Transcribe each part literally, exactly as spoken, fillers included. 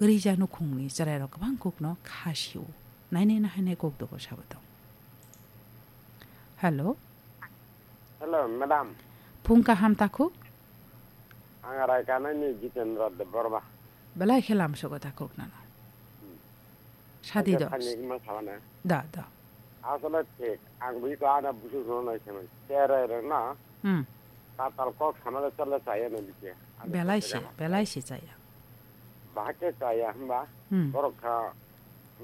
Rija nukhungni chwrairok kwbang kokno kha sio. Nainai nahainai kok dogo sabo tong. Hello. Hello, madam. Phung kaham takhuk? Ang Raikanaini Jitendra Debbarma. Belai khe lamsogo takhuk nano. Hmm. Sadi Ang dos. Thani hima sabana. Da, da. Asole thik, ang bui ko ana busu no nai semen. Tere re na. Hmm. Tatal kok samale chale chaya na bike. Ani Belai kok se, tega. Belai se chaya. Bahake chaya hamba. Hmm. Borok kha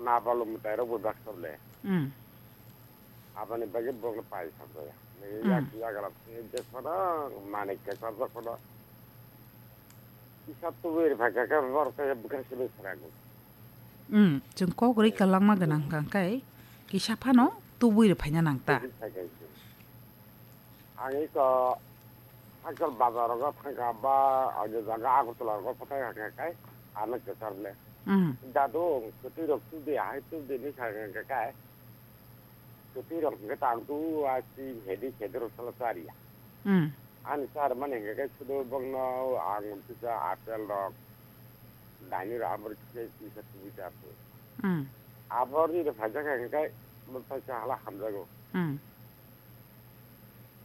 na balu mutai rok bo dak soble. Hmm. Aboni bagwi borokno pai samjaya. Nini Hmm. yak yagra je phano manik khe chajak phano. Kisa tubui rwphaikha khe borok khe bwkha simi srago. Hmm, chwng kok rwi kwlangma gwnang hwnkha khe kisa phano tubui rwphaina nang ta. Tubui phaikha khe. Ang iko hakchal bazar rogo thangkha ba ani jaga Agartala rogo phatai hakha khe ano kwchar le. Hmm. Dadu, kwtwi rok tubdi, ahai tubdi ni sakha khe. Kwtwi rok hwnkhe tang tu a si hedi hedi rok sala chariya. Hmm. Ani char mani hwnkhe khe sudo bongno ang kisa apple rok, daini rok abor kisa kisa tubui char tu. Hmm. Abor ni rok phaijak hwnkhe bo phaisa hala hamjago. Hmm.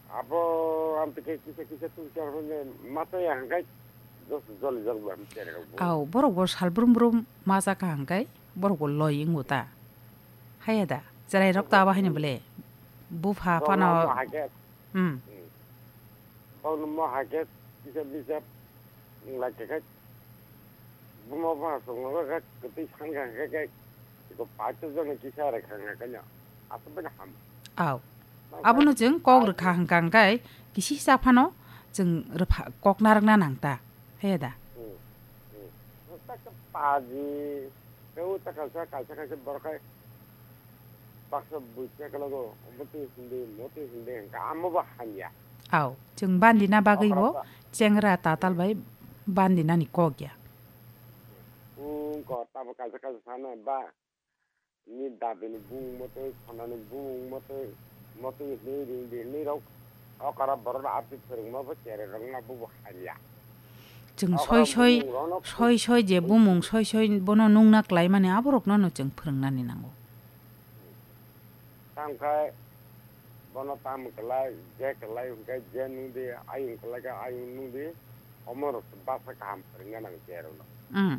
Abo ang tike kisa kisa tubui char mani masa ya hwnkhe dos joli jol bo ang tere rok bo. Au, borok bo sal brum brum masa ka hwnkhe borok bo loi wngo ta. Haya da, chwrai rok ta bahai ni bole. Bupha Bongno phano. Mo hake. Hmm. Hmm. Bongno mo hake kisa bisa nglai khe khe. Buma bupha songno khe khe kwtwi san kha khe khe. Iko paito joni kisa re kha khe khe no. Aswk bai no ham. Au. Abono chwng kok rwkha hwnkha hwnkhe kisi sa phano chwng rwpha-, kok narwkna nang ta. Haya da. Hmm. Hmm. Nokta khe paji. Tei o ta kaisa, kaisa, kaisa borok hai baksa bui chekologo, omo twi hwndi, omo twi hwndi hwnkha, amo bo hamya. Au, chwng bandina bagwi bo Okra ta- chengra tatal bai bandinani kok ya. Wng kok tamo kaisa, kaisa sana ba, ni dadini bumung motwi, khonani bumung motwi, motwi hwnwi ring di hwnwi rok, okra borok no abdi phwrwngma bo cherai rok no bo bo hamya. Chwng Okra soi soi, bumung rok no soi soi je bumung soi soi bono nungna kwlai mani aborokno no chwng phwrwngnani nango. Tamo khe bono tamo kwlai, je kwlai hwnkhe je nung di, ayung kwlai khe ayung nung di, omo rok se basa kaham phwrwngna nango je rok no. Mm.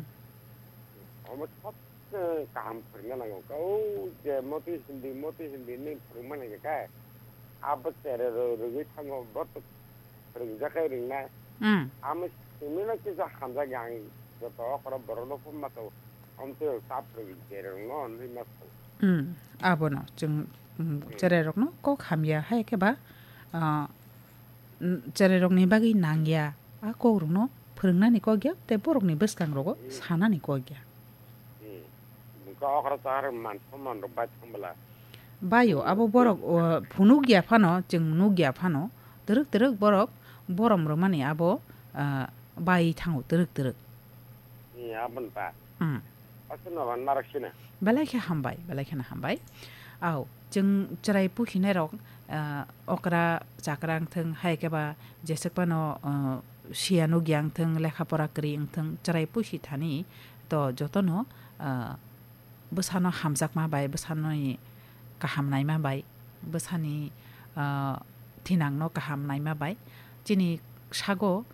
Omo sob se kaham phwrwngna nango. O je motwi hindi, motwi hindi hinwi phwrwngmani hwnkhe, abo cherai rw-, rwgwi thango, bo to phwrwngjakhe ringnai. Hmm. Amo simi no kisa hamjakya ang joto okoro borok no phunma to, omtwi ta phwrwng chereng no hinwi ma to. Hmm. Abono chwng, hmm, Hmm. cherai rok no kok hamya hai khe ba, ah, hmm, cherai rok ni bagwi nangya a kok rok no phwrwng nani kok ya tei borok ni bwskang rogo Hmm. sanani kok ya. Hmm. Bwkha okra char man soman rok bai thang bwla. Bayo, Hmm. abo borok, o, phunuk ya phano, chwng nuk ya phano, twrwk twrwk borok borom rwmani abo, ah, bai thango twrwk twrwk. Hmm, aboni ba. Hmm. Aswk no ban narwk sina. Belai khe hambai, belai kheno hambai. Au, chwng chwrai pusinai rok, ah, okra chakra wngthwng, hai khe ba jeswk phano, ah, siya nukya wngthwng, lekha pora kwrwi wngthwng, chwrai pusi thani to jotono, ah, bwsano hamjakma bai, bwsani kaham naima bai, bwsani, ah, thinangno kaham naima bai, chini sago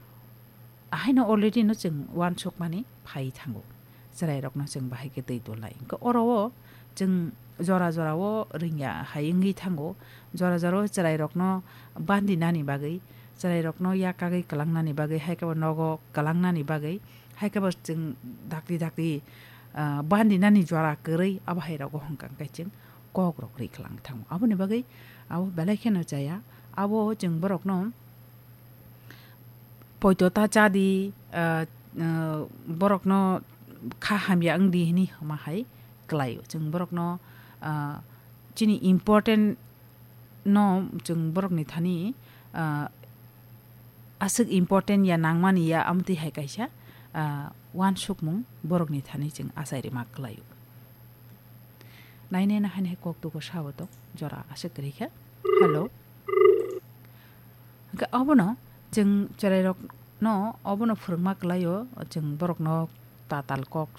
ahaino already no chwng uansukmani phai thango. Chwrairokno chwng bahai khe twi tolnai. Hwnkhe oro o chwng jora jora o ringya hai wngwi thango. Jora jora o chwrairokno bandinani bagwi, chwrairokno yakagwi kwlangnani bagwi, hai khe bo nogo kwlangnani bagwi, hai khe bo chwng dakti dakti, ah, bandinani jora kwrwi abo hai rogo hwnkha hwnkhe chwng kok rok ri kwlang thango. Aboni bagwi abo belai kheno chaya. Abo chwng borokno poito ta cha di, ah, ah, borokno kha hamya wng di hwnwi hama hai kwlaio. Chwng borokno, ah, chini important no chwng borokni thani, ah, aswk important ya nangmani ya amtwi hai kaisa, ah, uansukmung borokni thani chwng achai rwma kwlaio. Nainai nahainai kok tugo sabo tong jora aswk kwrwi khe. Hello. Hwnkhe obono chwng chwrairokno obono phwrwngma kwlaio, chwng borokno tatal kok